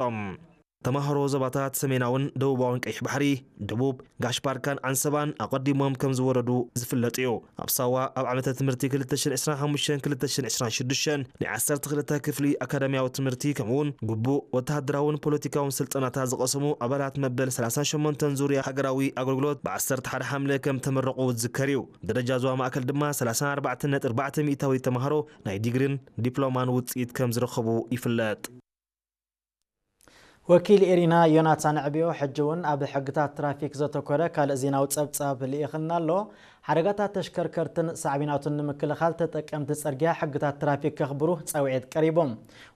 ኣረጋጊጾም። ተማሃሮ ዞባታት ሰሜናውን ደቡባውን ቀይሕ ባሕሪ፣ ደቡብ፣ ጋሽ ባርካን ዓንሰባን ኣቐዲሞም ከም ዝወረዱ ዝፍለጥ እዩ። ኣብ ሳዋ ኣብ ዓመተ ትምህርቲ ክልተ ሽሕን ዕስራን ሓሙሽተን ክልተ ሽሕን ዕስራን ሽዱሽተን ናይ ዓሰርተ ክልተ ክፍሊ ኣካዳሚያዊ ትምህርቲ ከምኡውን ግቡእ ወተሃደራውን ፖለቲካውን ስልጠናታት ዝቐሰሙ ኣባላት መበል ሰላሳን ሸሞንተን ዙርያ ሃገራዊ ኣገልግሎት ብ ዓሰርተ ሓደ ሓምለ ከም ተመረቑ ዝዝከር እዩ። ደረጃ ዞባ ማእከል ድማ ሰላሳን ኣርባዕተን ነጥቢ ኣርባዕተ ሚእታዊት ተማሃሮ ናይ ዲግሪን ዲፕሎማን ውፅኢት ከም ዝረኸቡ ይፍለጥ። ወኪል ኤሪና ዮናታን ዕብዮ ሕጂ እውን ኣብ ሕግታት ትራፊክ ዘተኮረ ካልእ ዜናዊ ጸብጻብ ልኢኽልና ኣሎ። ሓደጋታት ተሽከርከርትን ሳዕቤናቱን ንምክልኻል ተጠቀምቲ ጽርግያ ሕግታት ትራፊክ ከኽብሩ ጻውዒት ቀሪቦም።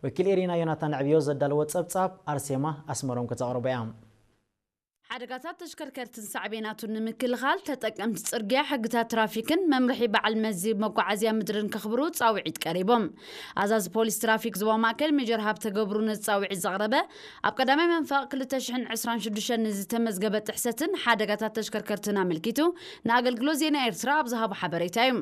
ወኪል ኤሪና ዮናታን ዕብዮ ዘዳለዎ ጸብጻብ ኣርሴማ ኣስመሮም ከተቕርቦ እያ። ሓደጋታት ተሽከርከርትን ሳዕቤናቱን ንምክልኻል ተጠቀምቲ ጽርግያ ሕግታት ትራፊክን መምርሒ በዓል መዚ መጓዓዝያ ምድርን ከኽብሩ ጻውዒት ቀሪቦም። ኣዛዚ ፖሊስ ትራፊክ ዞባ ማእከል ሜጀር ሃብተ ገብሩ ነዚ ጻውዒት ዘቕረበ ኣብ ቀዳማይ መንፈቕ ክልተ ሽሕን ዕስራን ሽዱሽተን ንዝተመዝገበ ጥሕሰትን ሓደጋታት ተሽከርከርትን ኣመልኪቱ ንኣገልግሎት ዜና ኤርትራ ኣብ ዝሃቦ ሓበሬታ እዩ።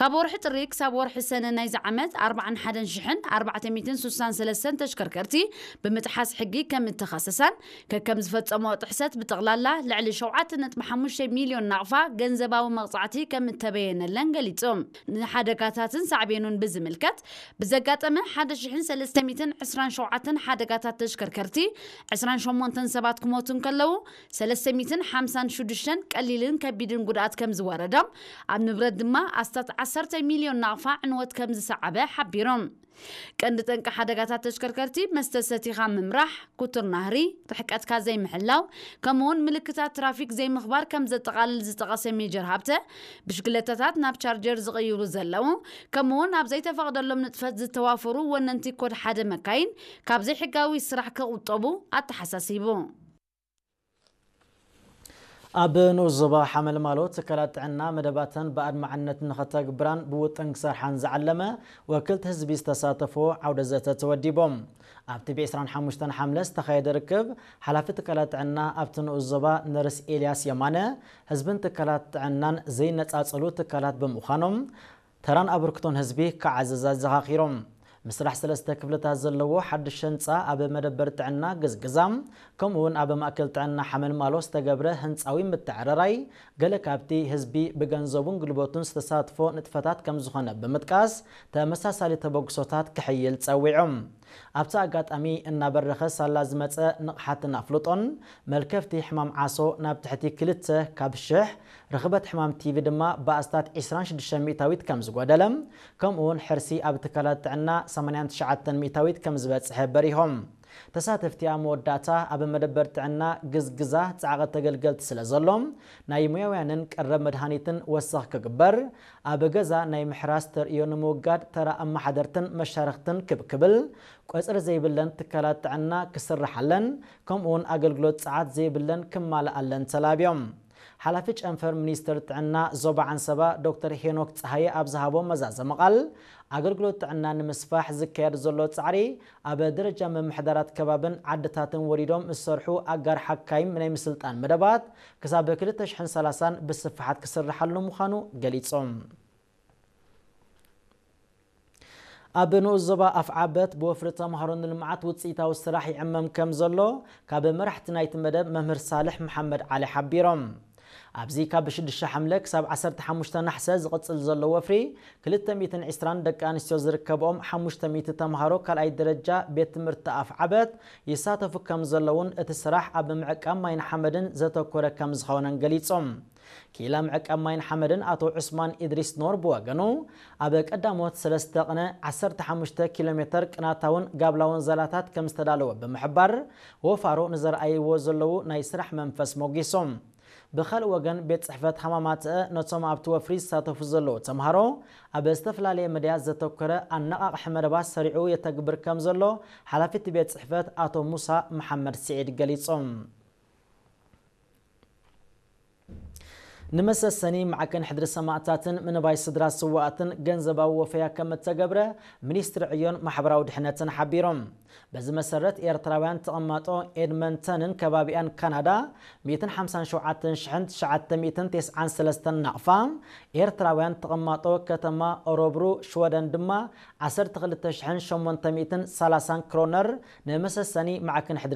ካብ ወርሒ ጥሪ ክሳብ ወርሒ ሰነ ናይዚ ዓመት ኣርባዓን ሓደን ሽሕን ኣርባዕተ ሚእትን ሱሳን ሰለስተን ተሽከርከርቲ ብምጥሓስ ሕጊ ከም እተኸሰሳን ከከም ዝፈጸሞ ጥሕሰት ብጠቕላላ ልዕሊ ሸውዓተ ነጥቢ ሓሙሽተ ሚልዮን ናቕፋ ገንዘባዊ መቕጻዕቲ ከም እተበየነለን ገሊጹ። ንሓደጋታትን ሳዕቤኑን ብዝምልከት ብዘጋጠመ ሓደ ሽሕን ሰለስተ ሚእትን ዕስራን ሸውዓተን ሓደጋታት ተሽከርከርቲ ዕስራን ሸሞንተን ሰባት ክሞቱ እንከለዉ ሰለስተ ሚእትን ሓምሳን ሽዱሽተን ቀሊልን ከቢድን ጉድኣት ከም ዝወረዶም ኣብ ንብረት ድማ ኣስታት ዓሰርተ ሚልዮን ናቕፋ ዕንወት ከም ዝሰዓበ ሓቢሮም። ቀንዲ ጠንቂ ሓደጋታት ተሽከርከርቲ መስተ ሰቲኻ ምምራሕ፣ ኩቱር ናህሪ፣ ርሕቀትካ ዘይምሕላው፣ ከምኡውን ምልክታት ትራፊክ ዘይምኽባር ከም ዘጠቓልል ዝጠቐሰ ሜጀር ሃብተ፣ ብሽክለታታት ናብ ቻርጀር ዝቕይሩ ዘለዉ፣ ከምኡውን ኣብ ዘይተፈቕደሎም ንጥፈት ዝተዋፈሩ ወነንቲ ኮድ ሓደ መካይን ካብ ዘይሕጋዊ ስራሕ ክቑጠቡ ኣተሓሳሲቡ። ኣብ ንኡስ ዞባ ሓመልማሎ ትካላት ጥዕና መደባተን ብኣድማዕነት ንኸተግብራን ብውጥን ክሰርሓን ዝዓለመ ወክልቲ ህዝቢ ዝተሳተፎ ዓውደ ዘተ ተወዲቦም። ኣብቲ ብዕስራን ሓሙሽተን ሓምለ ዝተኻየደ ርክብ ሓላፊ ትካላት ጥዕና ኣብቲ ንኡስ ዞባ ነርስ ኤልያስ የማነ ህዝብን ትካላት ጥዕናን ዘይነጻጸሉ ትካላት ብምዃኖም ተራን ኣበርክቶን ህዝቢ ክዓዝዝ ኣዘኻኺሮም። ምስራሕ ሰለስተ ክፍልታት ዘለዎ ሓድሽ ህንፃ ኣብ መደበር ጥዕና ግዝግዛ ከምኡ እውን ኣብ ማእከል ጥዕና ሓመልማሎ ዝተገብረ ህንፃዊ ምትዕርራይ ገለ ካብቲ ህዝቢ ብገንዘቡን ጉልበቱን ዝተሳትፎ ንጥፈታት ከም ዝኾነ ብምጥቃስ ተመሳሳሊ ተበግሶታት ክሕይል ጸዊዖም። ኣብቲ ኣጋጣሚ እናበረኸ ሳላ ዝመጸ ንቕሓትን ኣፍልጦን መልከፍቲ ሕማም ዓሶ ናብ ትሕቲ ክልተ ካብ ሽሕ ርኽበት ሕማም ቲቪ ድማ ብኣስታት ዕስራን ሽዱሽተ ሚእታዊት ከም ዝጎደለ፣ ከምኡ እውን ሕርሲ ኣብ ትካላት ጥዕና ሰማንያን ትሽዓተን ሚእታዊት ከም ዝበጽሐ በሪሆም። ተሳተፍቲ ኣብ መወዳእታ ኣብ መደበር ጥዕና ግዝግዛ ጻዕቐ ተገልገልቲ ስለ ዘሎ፣ ናይ ሙያውያንን ቀረብ መድሃኒትን ወሰኽ ክግበር፣ ኣብ ገዛ ናይ ምሕራስ ተርእዮ ንምውጋድ ተራ ኣመሓደርትን መሻርኽትን ክብ ክብል፣ ቁጽሪ ዘይብለን ትካላት ጥዕና ክስርሓለን፣ ከምኡውን ኣገልግሎት ጸዓት ዘይብለን ክማልኣለን ተላብዮም። ሓላፊ ጨንፈር ሚኒስትር ጥዕና ዞባ ዓንሰባ ዶክተር ሄኖክ ጸሃየ ኣብ ዝሃቦ መዛዘሚ ቃል፣ ኣገልግሎት ጥዕና ንምስፋሕ ዝካየድ ዘሎ ጻዕሪ ኣብ ደረጃ ምምሕዳራት ከባብን ዓድታትን ወሪዶም ዝሰርሑ ኣጋር ሓካይም ናይ ምስልጣን መደባት ክሳብ ክልተ ሽሕን ሰላሳን ብስፍሓት ክስርሓሉ ምዃኑ ገሊጾም። ኣብ ንኡስ ዞባ ኣፍዓበት ብወፍሪ ተምሃሮ ንልምዓት ውፅኢታዊ ስራሕ ይዕመም ከም ዘሎ ካብ መራሕቲ ናይቲ መደብ መምህር ሳልሕ መሓመድ ዓሊ ሓቢሮም። ኣብዚ ካብ ሽዱሽተ ሓምለ ክሳብ ዓሰርተ ሓሙሽተ ናሕሰ ዝቕፅል ዘሎ ወፍሪ ክልተ ሚእትን ዕስራን ደቂ ኣንስትዮ ዝርከብኦም ሓሙሽተ ሚእቲ ተምሃሮ ካልኣይ ደረጃ ቤት ትምህርቲ ኣፍዓበት ይሳተፉ ከም ዘለውን እቲ ስራሕ ኣብ ምዕቃብ ማይን ሓመድን ዘተኮረ ከም ዝኾነን ገሊጾም። ክኢላ ምዕቃብ ማይን ሓመድን ኣቶ ዑስማን ኢድሪስ ኖር ብወገኑ፣ ኣብ ቀዳሞት ሰለስተ ቅነ ዓሰርተ ሓሙሽተ ኪሎ ሜተር ቅናታውን ጋብላውን ዛላታት ከም ዝተዳለወ ብምሕባር፣ ወፋሮ ንዘርኣይዎ ዘለዉ ናይ ስራሕ መንፈስ ሞጊሶም። ብኻልእ ወገን፣ ቤት ጽሕፈት ሃማማትአ ነቶም ኣብቲ ወፍሪ ዝሳተፉ ዘለዉ ተምሃሮ ኣብ ዝተፈላለየ መዳያት ዘተኮረ ኣነቓቕሒ መደባት ሰሪዑ የተግብር ከም ዘሎ ሓላፊ እቲ ቤት ጽሕፈት ኣቶ ሙሳ መሓመድ ስዒድ ገሊጾም። ንመሰሰኒ ማዕከን ሕድሪ ሰማእታትን ምንባይ ስድራ ስዋኣትን ገንዘባዊ ወፈያ ከም እተገብረ ሚኒስትሪ ዕዮን ማሕበራዊ ድሕነትን ሓቢሮም። በዚ መሰረት ኤርትራውያን ተቐማጦ ኤድመንተንን ከባቢኣን ካናዳ ሚእትን ሓምሳን ሸውዓተን ሽሕን ትሽዓተ ሚእትን ተስዓን ሰለስተን ናቕፋ፣ ኤርትራውያን ተቐማጦ ከተማ ኦሮብሩ ሽወደን ድማ ዓሰርተ ክልተ ሽሕን ሸሞንተ ሚእትን ሰላሳን ክሮነር ንመሰሰኒ ማዕከን ሕድሪ